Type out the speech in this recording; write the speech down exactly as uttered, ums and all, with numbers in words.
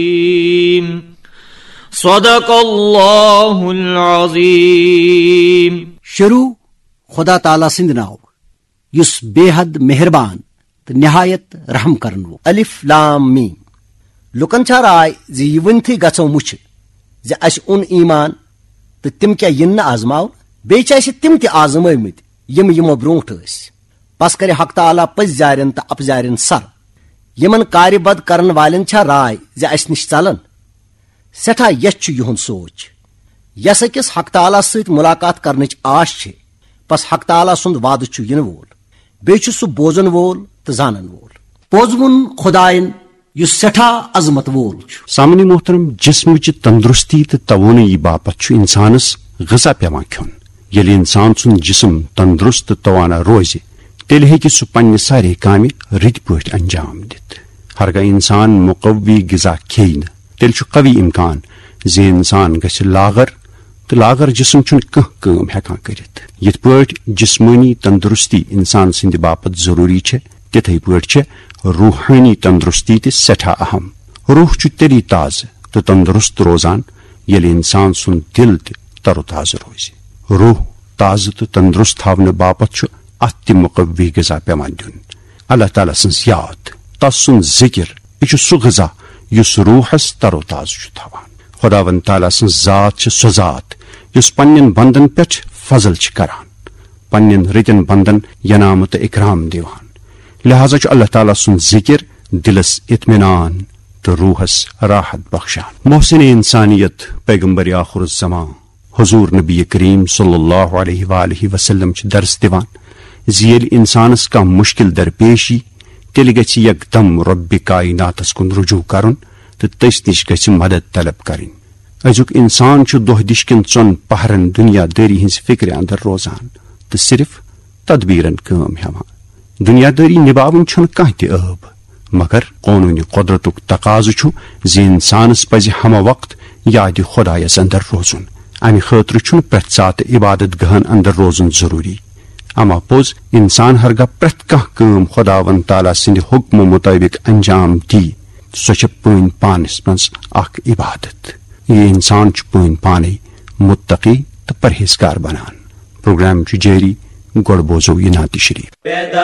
الرحيم. صدق الله العظيم. شروع خدا تعالیٰ سٕنٛدِ ناوٕ، یُس بے حد مہربان تہٕ نہایت رحم کرن وول۔ الف لام میم۔ لوٗکن چھا راے زِ یہِ ؤنتھٕے گژھو مُچھِ زِ اسہِ اوٚن ایمان تہٕ تِم کیٛاہ یِن نہٕ آزماونہٕ؟ بیٚیہِ چھِ اسہِ تِم تہِ آزمٲومٕتۍ یِم یِمو برونٛٹھ ٲسۍ۔ پس کرِ حق تعالیٰ پٔزۍ زارٮ۪ن تہٕ اپزارٮ۪ن سر۔ یِمن کارِ بد کرن والٮ۪ن چھا راے زِ اسہِ نِش ژلن؟ سٮ۪ٹھاہ یژھ چھُ یِہُنٛد سونچ۔ یس أکِس حق تعالیٰ سۭتۍ ملاقات کرنٕچ آش چھِ، پس حق تعالیٰ سُنٛد وعدٕ چھُ یِنہٕ وول۔ بیٚیہِ چھُ سُہ بوزن وول تہٕ زانن وول۔ پوٚز ووٚن خدایَن، یُس سٮ۪ٹھاہ عظمت وول چھُ۔ سامعیٖن محترم، جسمٕچہِ تندرستی تہٕ توانٲیی باپتھ چھُ انسانس غذا پٮ۪وان کھیوٚن۔ ییٚلہِ انسان سُنٛد جسم تندرست تہٕ توانا روزِ، تیٚلہِ ہیٚکہِ سُہ پننہِ سارے کامہِ رٕتۍ پٲٹھۍ انجام دِتھ۔ ہرگاہ انسان مقوی غذا کھیٚیہِ نہٕ، تیٚلہِ چھُ قوی امکان زِ انسان گژھِ لاغر، تہٕ لاغر جسم چھُنہٕ کانٛہہ کٲم ہٮ۪کان کٔرِتھ۔ یِتھ پٲٹھۍ جسمٲنی تندرستی انسان سٕنٛدِ باپتھ ضروٗری چھےٚ، تِتھے پٲٹھۍ چھےٚ روحٲنی تندرستی تہِ سٮ۪ٹھاہ اہم۔ روح چھُ تیٚلی تازٕ تہٕ تندرست روزان، ییٚلہِ انسان سُنٛد دِل تہِ تر و تازٕ روزِ۔ روح تازٕ تہٕ تندرست تھاونہٕ باپتھ چھُ اتھ تہِ مقوی غذا پٮ۪وان دیُن۔ اللہ تعالیٰ سٕنٛز یاد، تس سُنٛد ذکر، یہِ چھُ سُہ غذا یُس روحس تر و تازٕ چھُ تھاوان۔ خداوند تعالیٰ سٕنٛز ذات چھِ سۄ ذات یُس پننٮ۪ن بندن پٮ۪ٹھ فضل چھِ کران، پننٮ۪ن رٕتٮ۪ن بندن ینامہٕ تہٕ اکرام دِوان۔ لہذا چھُ اللہ تعالیٰ سُنٛد ذکر دلس اطمینان تہٕ روحس راحت بخشان۔ محسن انسانیت پیغمبر آخر الزمان حضور نبی کریم صلی اللہ علیہ وآلہ وسلم چھِ درس دِوان زِ ییٚلہِ انسانس کانٛہہ مشکل درپیش یی، تیٚلہِ گژھِ یکدم رۄبِ کائناتس کُن رجوع کرُن تہٕ تٔسۍ نِش گژھِ مدد طلب کرٕنۍ۔ أزیُک انسان چھُ دۄہ دِش کٮ۪ن ژۄن پہرن دنیا دٲری ہٕنٛزِ فکرِ اندر روزان تہٕ صرف تدبیرن کٲم ہٮ۪وان۔ دنیا دٲری نباوٕنۍ چھُنہٕ کانٛہہ تہِ عٲب، مگر قونوٗنِ قۄدرتُک تقاضہٕ چھُ زِ انسانس پزِ ہمہ وقت یادِ خدایس اندر روزُن۔ امہِ خٲطرٕ چھُنہٕ پرٛٮ۪تھ ساتہٕ عبادت گاہن اندر روزُن ضروٗری۔ اما پوٚز، انسان ہرگاہ پرٛٮ۪تھ کانٛہہ کٲم خداوند تعالیٰ سٕنٛدِ حکمہٕ مطٲبق انجام دی، سۄ چھےٚ پٲنۍ پانس منٛز اکھ عبادت۔ یہِ انسان چھُ پٲنۍ پانے متقی تہٕ پرہیزگار بنان۔ پروگرام چھُ جٲری، گۄڈٕ بوزو یہِ نعتِ شریف۔ پیدا